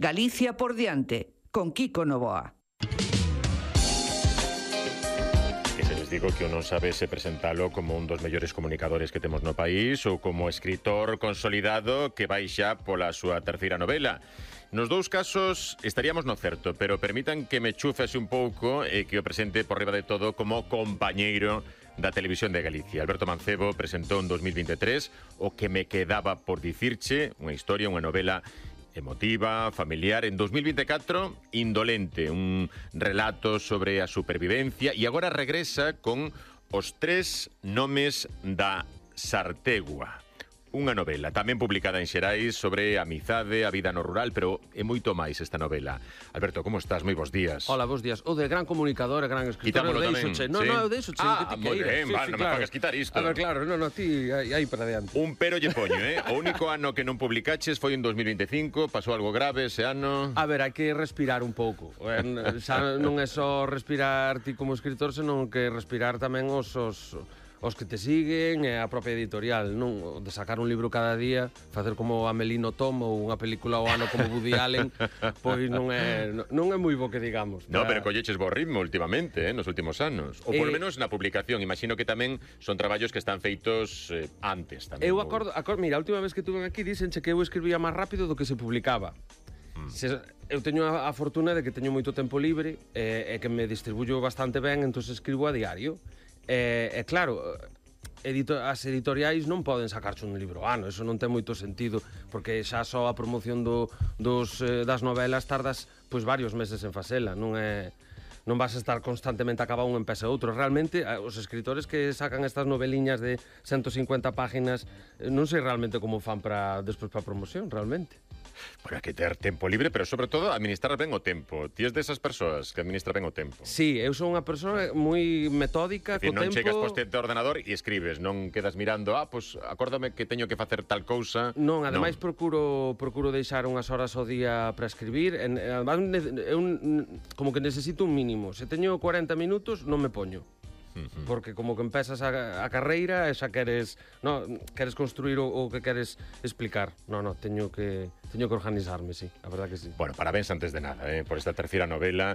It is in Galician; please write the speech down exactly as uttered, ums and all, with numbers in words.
Galicia por diante, con Kiko Novoa. Que se les digo que uno sabe se presentalo como un dos mellores comunicadores que temos no país ou como escritor consolidado que vai xa pola súa terceira novela. Nos dous casos estaríamos no certo, pero permitan que me chufese un pouco e que o presente por riba de todo como compañeiro da Televisión de Galicia. Alberto Mancebo presentou en dos mil veintitrés o que me quedaba por dicirche, unha historia, unha novela emotiva, familiar. En dos mil veinticuatro, Indolente, un relato sobre a supervivencia, e agora regresa con Os tres nomes da Sartegua. Unha novela tamén publicada en Xerais sobre a amizade, a vida no rural, pero é moito máis esta novela. Alberto, como estás? Moi bons días. Hola, bons días. O de gran comunicador, gran escritor. Quitámolo tamén. No, ¿sí? no, deixo che, ah, que ti moi ben, sí, va, sí, non claro. me fagas quitar isto. A ver, claro, no, no, ti aí, aí para diante. Un pero lle poño, eh? O único ano que non publicaches foi en dos mil veinticinco, pasou algo grave ese ano. A ver, hai que respirar un pouco. Eh, xa non é só respirar ti como escritor, senón que respirar tamén os... os os que te siguen e a propia editorial, non? De sacar un libro cada día, facer como Amelino Tom ou unha película ao ano como Woody Allen, pois non é non é moi bo que digamos. No, pero colleches bo ritmo últimamente, eh, nos últimos anos. Ou por lo Eh, menos na publicación, imagino que tamén son traballos que están feitos eh, antes tamén. Eu ou... acordo, acordo, mira, a última vez que tuve aquí díxenche que eu escribía máis rápido do que se publicaba. Mm. Se, eu teño a, a fortuna de que teño moito tempo libre e, e que me distribuyo bastante ben, entón escribo a diario. E, e claro, edito, as editoriais non poden sacarche un libro ano, eso non ten moito sentido, porque xa só a promoción do, dos, eh, das novelas tardas pois varios meses en facela, non é... non vas a estar constantemente a acabar un empeza outro. Realmente, os escritores que sacan estas noveliñas de ciento cincuenta páginas, non sei realmente como fan para despois para promoción, realmente. Bueno, hai que ter tempo libre, pero sobre todo administrar ben o tempo. Ti és desas persoas que administra ben o tempo. Sí, eu son unha persoa moi metódica, co tempo. Non tempo... chegas poste de ordenador e escribes, non quedas mirando, ah, pois pues, acórdame que teño que facer tal cousa. Non, ademais non. procuro procuro deixar unhas horas ao día para escribir, en, ademais eu como que necesito un mínimo. Se teño cuarenta minutos, non me poño. Porque como que empezas a, a carreira e xa queres, no, queres construir o, o que queres explicar. No, no, teño que teño que organizarme, sí, a verdad que sí. Bueno, parabéns antes de nada, eh, por esta terceira novela